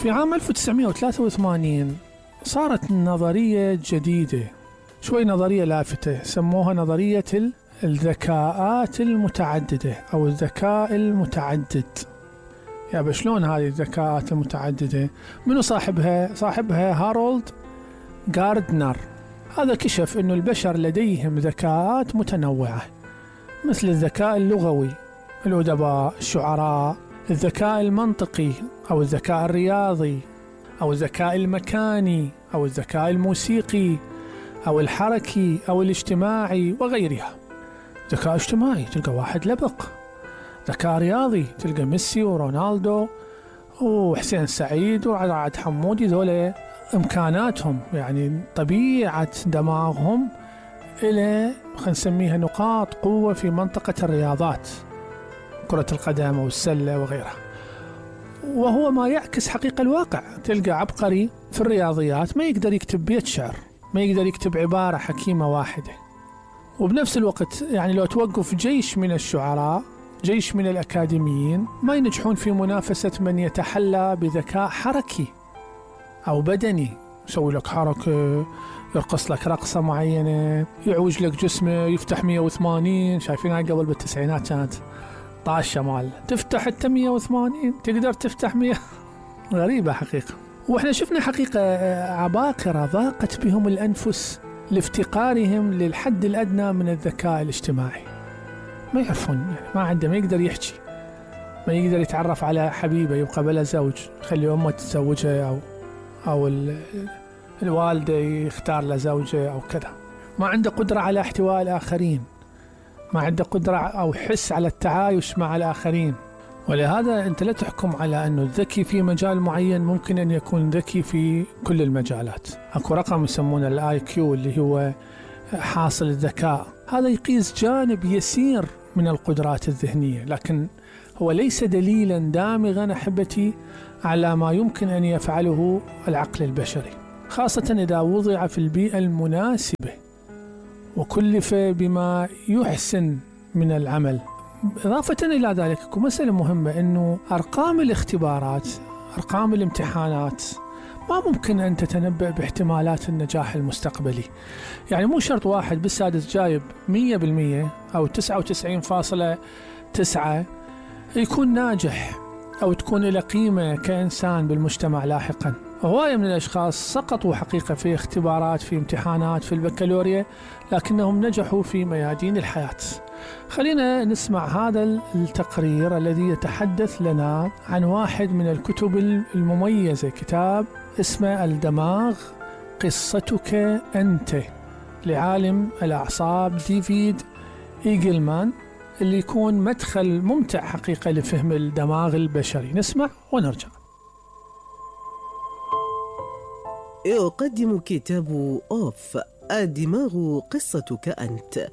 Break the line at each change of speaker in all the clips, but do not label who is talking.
في عام 1983 صارت نظرية جديدة، شوي نظرية لافتة، سموها نظرية الذكاءات المتعددة أو الذكاء المتعدد. يا شلون هذه الذكاءات المتعددة؟ منو صاحبها هارولد غاردنر. هذا كشف أن البشر لديهم ذكاءات متنوعة، مثل الذكاء اللغوي، الأدباء، الشعراء، الذكاء المنطقي أو الذكاء الرياضي، أو الذكاء المكاني، أو الذكاء الموسيقي، أو الحركي، أو الاجتماعي وغيرها. ذكاء اجتماعي تلقى واحد لبق، ذكاء رياضي تلقى ميسي ورونالدو وحسين سعيد وعاد حمودي، ذولا إمكاناتهم يعني طبيعة دماغهم إلى خلينا نسميها نقاط قوة في منطقة الرياضات، كرة القدم والسلة وغيرها، وهو ما يعكس حقيقة الواقع. تلقى عبقري في الرياضيات ما يقدر يكتب بيت شعر، ما يقدر يكتب عبارة حكيمة واحدة. وبنفس الوقت يعني لو توقف جيش من الشعراء، جيش من الأكاديميين، ما ينجحون في منافسة من يتحلى بذكاء حركي أو بدني، يسوي لك حركة، يرقص لك رقصة معينة، يعوج لك جسمه، يفتح 180. شايفينها قبل بالتسعينات كانت طاشة مال تفتح حتى 180 تقدر تفتح 100. غريبة حقيقة. وإحنا شفنا حقيقة عباقرة ضاقت بهم الأنفس لافتقارهم للحد الأدنى من الذكاء الاجتماعي. ما يعرفون، يعني ما عنده، ما يقدر يحكي، ما يقدر يتعرف على حبيبة يبقى بلا زوج، خلي أمه تتزوجها أو الوالدة يختار له زوجة أو كذا. ما عنده قدرة على احتواء الآخرين، ما عنده قدرة أو حس على التعايش مع الآخرين. ولهذا أنت لا تحكم على أنه الذكي في مجال معين ممكن أن يكون ذكي في كل المجالات. أكو رقم يسمونه الIQ اللي هو حاصل الذكاء، هذا يقيس جانب يسير من القدرات الذهنية، لكن هو ليس دليلا دامغا أحبتي على ما يمكن أن يفعله العقل البشري، خاصة إذا وضع في البيئة المناسبة وكلف بما يحسن من العمل. إضافة إلى ذلك مسألة مهمة، أنه أرقام الاختبارات، أرقام الامتحانات ما ممكن أن تتنبأ باحتمالات النجاح المستقبلي. يعني مو شرط واحد بالسادس جايب 100% أو 99.9 يكون ناجح أو تكون له قيمة كإنسان بالمجتمع لاحقا. هواية من الأشخاص سقطوا حقيقة في اختبارات، في امتحانات، في البكالوريا، لكنهم نجحوا في ميادين الحياة. خلينا نسمع هذا التقرير الذي يتحدث لنا عن واحد من الكتب المميزة، كتاب اسمه الدماغ قصتك أنت، لعالم الأعصاب ديفيد إيجلمان، اللي يكون مدخل ممتع حقيقة لفهم الدماغ البشري. نسمع ونرجع.
يقدم كتاب أوف الدماغ قصتك أنت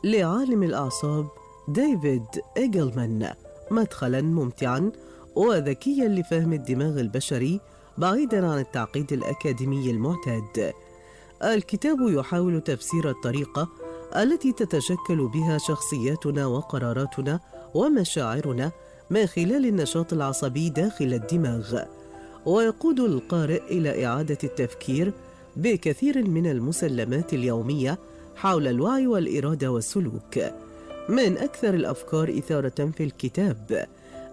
لعالم الأعصاب ديفيد إيجلمان مدخلا ممتعا وذكيا لفهم الدماغ البشري بعيدا عن التعقيد الأكاديمي المعتاد. الكتاب يحاول تفسير الطريقة التي تتشكل بها شخصياتنا وقراراتنا ومشاعرنا من خلال النشاط العصبي داخل الدماغ، ويقود القارئ إلى إعادة التفكير بكثير من المسلمات اليومية حول الوعي والإرادة والسلوك. من أكثر الأفكار إثارة في الكتاب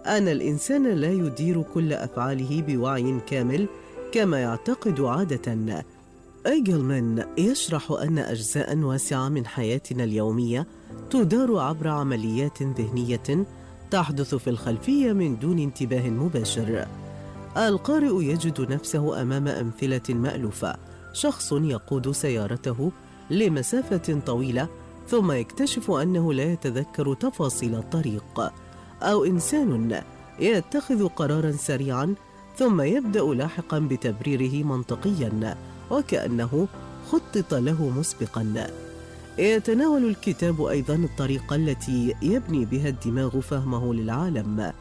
أن الإنسان لا يدير كل أفعاله بوعي كامل كما يعتقد عادة. إيجلمان يشرح أن أجزاء واسعة من حياتنا اليومية تدار عبر عمليات ذهنية تحدث في الخلفية من دون انتباه مباشر. القارئ يجد نفسه أمام أمثلة مألوفة، شخص يقود سيارته لمسافة طويلة ثم يكتشف أنه لا يتذكر تفاصيل الطريق، أو إنسان يتخذ قراراً سريعاً ثم يبدأ لاحقاً بتبريره منطقياً وكأنه خطط له مسبقاً. يتناول الكتاب أيضاً الطريقة التي يبني بها الدماغ فهمه للعالم.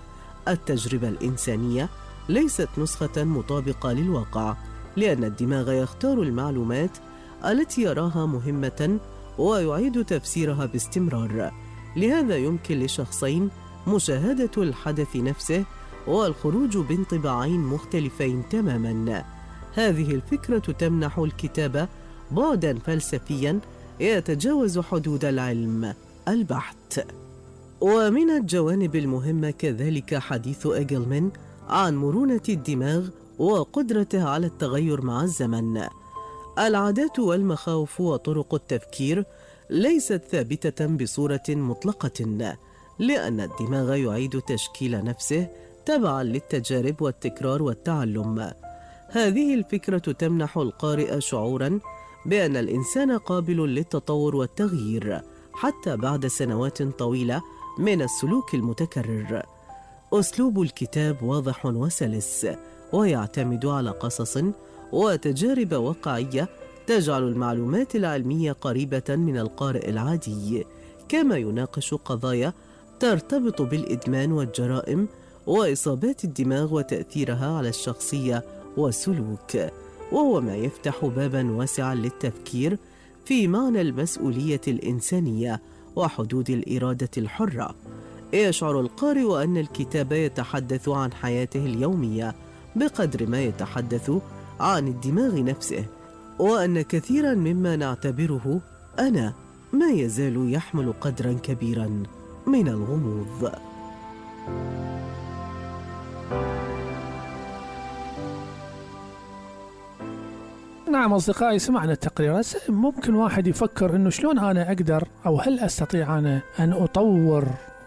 التجربة الإنسانية ليست نسخة مطابقة للواقع، لأن الدماغ يختار المعلومات التي يراها مهمة ويعيد تفسيرها باستمرار. لهذا يمكن لشخصين مشاهدة الحدث نفسه والخروج بانطباعين مختلفين تماما. هذه الفكرة تمنح الكتابة بعداً فلسفياً يتجاوز حدود العلم البحت. ومن الجوانب المهمة كذلك حديث إيجلمان عن مرونة الدماغ وقدرته على التغير مع الزمن. العادات والمخاوف وطرق التفكير ليست ثابتة بصورة مطلقة، لأن الدماغ يعيد تشكيل نفسه تبعاً للتجارب والتكرار والتعلم. هذه الفكرة تمنح القارئ شعوراً بأن الإنسان قابل للتطور والتغيير حتى بعد سنوات طويلة من السلوك المتكرر. أسلوب الكتاب واضح وسلس، ويعتمد على قصص وتجارب واقعية تجعل المعلومات العلمية قريبة من القارئ العادي، كما يناقش قضايا ترتبط بالإدمان والجرائم وإصابات الدماغ وتأثيرها على الشخصية والسلوك، وهو ما يفتح باباً واسعاً للتفكير في معنى المسؤولية الإنسانية وحدود الإرادة الحرة. يشعر القارئ أن الكتاب يتحدث عن حياته اليومية بقدر ما يتحدث عن الدماغ نفسه، وأن كثيراً مما نعتبره أنا ما يزال يحمل قدراً كبيراً من الغموض.
نعم أصدقائي، سمعنا التقرير. ممكن واحد يفكر إنه شلون أنا أقدر أو هل أستطيع أنا أن أطور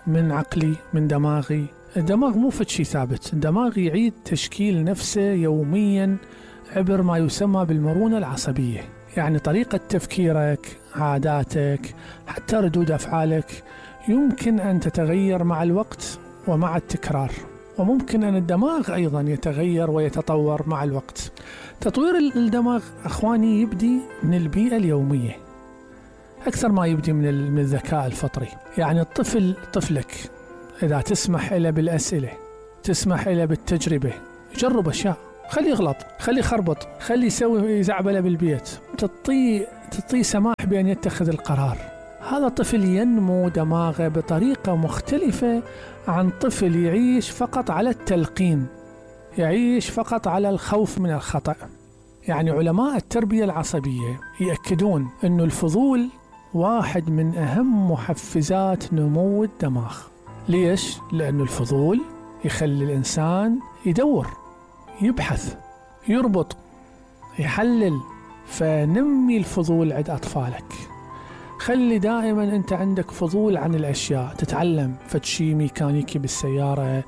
من عقلي من دماغي؟ الدماغ مو فد شيء ثابت، الدماغ يعيد تشكيل نفسه يوميا عبر ما يسمى بالمرونة العصبية، يعني طريقة تفكيرك، عاداتك، حتى ردود أفعالك يمكن أن تتغير مع الوقت ومع التكرار، وممكن أن الدماغ أيضا يتغير ويتطور مع الوقت. تطوير الدماغ أخواني يبدي من البيئة اليومية أكثر ما يبدي من الذكاء الفطري. يعني طفلك إذا تسمح له بالأسئلة، تسمح له بالتجربة، يجرب أشياء، خلي يغلط، خلي يخربط، خلي يسوي زعبلة بالبيت، تعطيه سماح بأن يتخذ القرار. هذا طفل ينمو دماغه بطريقة مختلفة عن طفل يعيش فقط على التلقين، يعيش فقط على الخوف من الخطأ. يعني علماء التربية العصبية يأكدون أن الفضول واحد من أهم محفزات نمو الدماغ. ليش؟ لأن الفضول يخلي الإنسان يدور، يبحث، يربط، يحلل. فنمي الفضول عند أطفالك، خلي دائما أنت عندك فضول عن الأشياء، تتعلم فد شي ميكانيكي بالسيارة،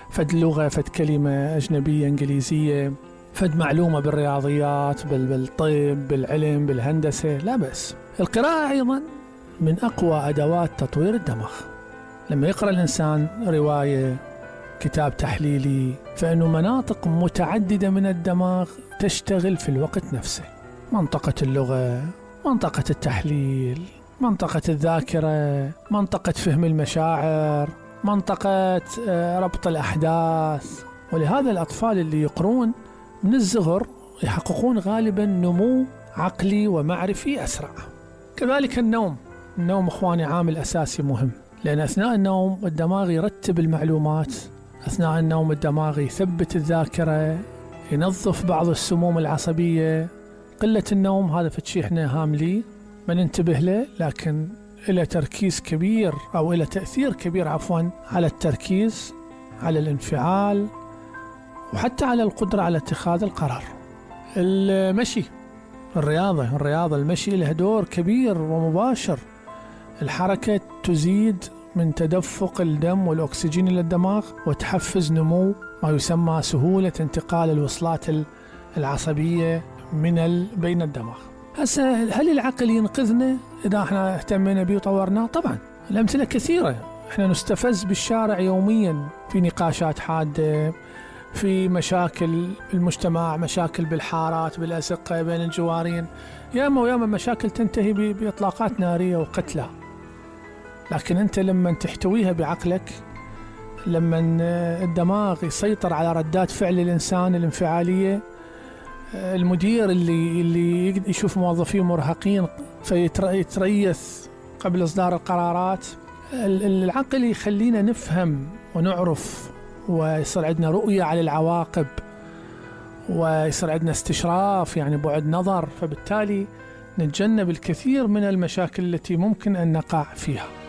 فد لغة، فد كلمة أجنبية إنجليزية، فد معلومة بالرياضيات، بالطب، بالعلم، بالهندسة، لا بس. القراءة أيضا من أقوى أدوات تطوير الدماغ. لما يقرأ الإنسان رواية، كتاب تحليلي، فإنه مناطق متعددة من الدماغ تشتغل في الوقت نفسه: منطقة اللغة، منطقة التحليل، منطقة الذاكرة، منطقة فهم المشاعر، منطقة ربط الأحداث. ولهذا الأطفال اللي يقرون من الصغر يحققون غالبا نمو عقلي ومعرفي أسرع. كذلك النوم أخواني عامل أساسي مهم، لأن أثناء النوم الدماغ يرتب المعلومات، أثناء النوم الدماغ يثبت الذاكرة، ينظف بعض السموم العصبية. قلة النوم هذا فتشي احنا هاملي ما ننتبه له، لكن إلى تركيز كبير أو إلى تأثير كبير على التركيز، على الانفعال، وحتى على القدرة على اتخاذ القرار. المشي، الرياضة، المشي له دور كبير ومباشر. الحركة تزيد من تدفق الدم والأكسجين إلى الدماغ، وتحفز نمو ما يسمى سهولة انتقال الوصلات العصبية بين الدماغ. هسه هل العقل ينقذنا إذا احنا اهتمينا به وطورناه؟ طبعا الأمثلة كثيرة. احنا نستفز بالشارع يوميا في نقاشات حادة، في مشاكل المجتمع، مشاكل بالحارات، بالأزقة، بين الجوارين، ياما مشاكل تنتهي بإطلاقات نارية وقتلى. لكن أنت لما تحتويها بعقلك، لما الدماغ يسيطر على ردات فعل الإنسان الانفعالية، المدير اللي يشوف موظفيه مرهقين فيتريث قبل إصدار القرارات، العقل يخلينا نفهم ونعرف ويصير عندنا رؤية على العواقب، ويصير عندنا استشراف يعني بعد نظر، فبالتالي نتجنب الكثير من المشاكل التي ممكن أن نقع فيها.